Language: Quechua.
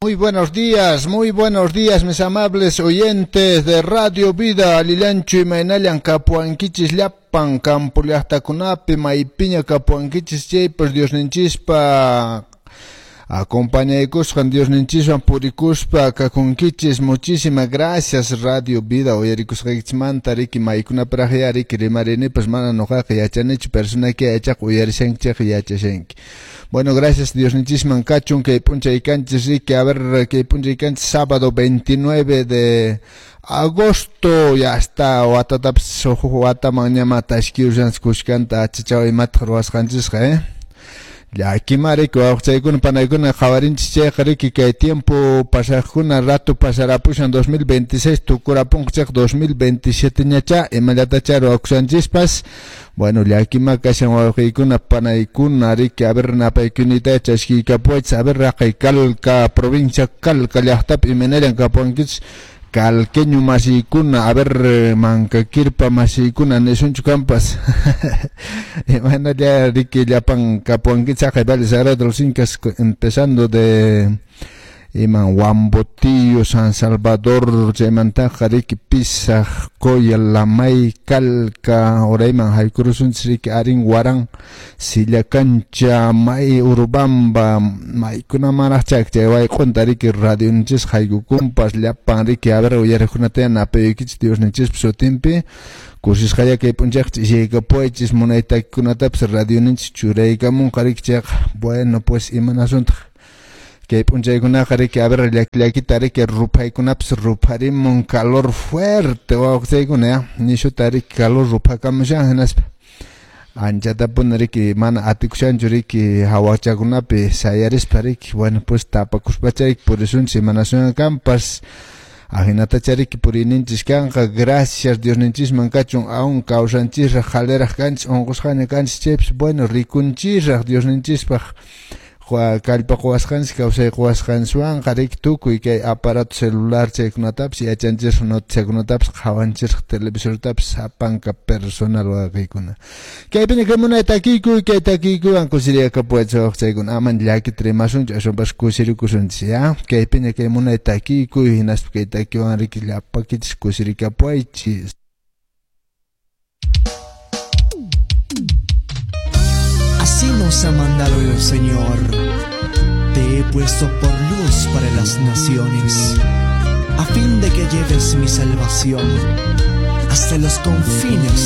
Muy buenos días, mis amables oyentes de Radio Vida, Alillanchu imaynallan kapuankichis llapan campo llaqtakunapi, maypiña kapuankichis chaypas Diosninchispa acompañaykusqan Diosninchiswan purikuspa kakunkichis. Muchísimas gracias, Radio Vida uyarikusqaykichismanta, riki, maykunaparaqya riki rimarinipas mana nuqaqa yachanichu, personayki yachaq uyarishanki chayqa yachashanki. Bueno, gracias Diosninchisman kachun kay p'unchay kanchis riki, a ver, kay p'unchay kanchis sábado 29 de agosto, ya está watatapis huk wataman ñama tashkiyushanchis kushkanta achachaw imataq ruwasqanchisqa, eh? Llakima riki wawqichaykuna panaykuna qhawarinchis chayqa riki kay tiempo pasaqkuna rato pasarapushan 2026 tukurapunqa chayqa 2027 ñacha imallatachá ruwakushanchispas. Bueno, llakima kashan wawqiykuna panaykuna riki, a ver, napaykunita chaskiykapuwaychis, a ver, raqay Calca, provincia Calca llaqtapi imaynallan kapuwankichis calqueño masiykuna, a ver, Mankakirpa masiykuna nisunchu kampas imaynalla riki llapan kapuwankichis haqay Valle Sagrado de los Incas, empezando de iman Huambotillo, San Salvador, chaymantaqa riki Pisaq, Coya, Lamay, Calca, urayman haykurusunchis riki Arin, Huarán, Sillacancha, May, Urubamba, maykunamanraq chay wayq'unta riki radioninchis haykukunpas llapan riki, a ver, uyariqkunata napayuykichis Diosninchispa sutinpi kusisqalla kay p'unchayqa ch'isiykapuwaychis munay takikunatapis radioninchis churaykamunqa riki chayqa. Bueno, pues imanasuntaq kay p'unchaykunaqa riki, a ver, llaki llakita riki ruphaykunapis rupharimun, calor fuerte wawqichaykuna ya nishuta riki calor ruphakamushan hinaspa anchatapuni riki mana atikushanchu riki hawachakunapi sayarispa riki. Bueno, pues tapakuspacha riki purisunchis imanasunqa kanpas ahinatacha riki puriyninchis kanqa. Gracias Diosninchisman kachun aún kawsanchisraq qaliraq kanchis unqusqaña kanchis chaypis, bueno, rikunchisraq Diosninchispaq kallpa quwasqanchis kawsay quwasqanchiswanqa riki tukuy kay aparato celular chaykunatapis yachanchisraq noticiakunatapis qhawanchisraq televisortapis sapanka personal wawqiykuna. Kaypiña kay munay takiykuy, kay takiykuywan kusiriyakapuwaychis wawqichaykuna, aman llakita rimasunchu aswanpas kusirikusunchis ya. Kaypiña kay munay takiykuy hinaspa kay takiwan riki llapakichis kusirikapuwaychis. Así nos ha mandado el Señor. Te he puesto por luz para las naciones, a fin de que lleves mi salvación hasta los confines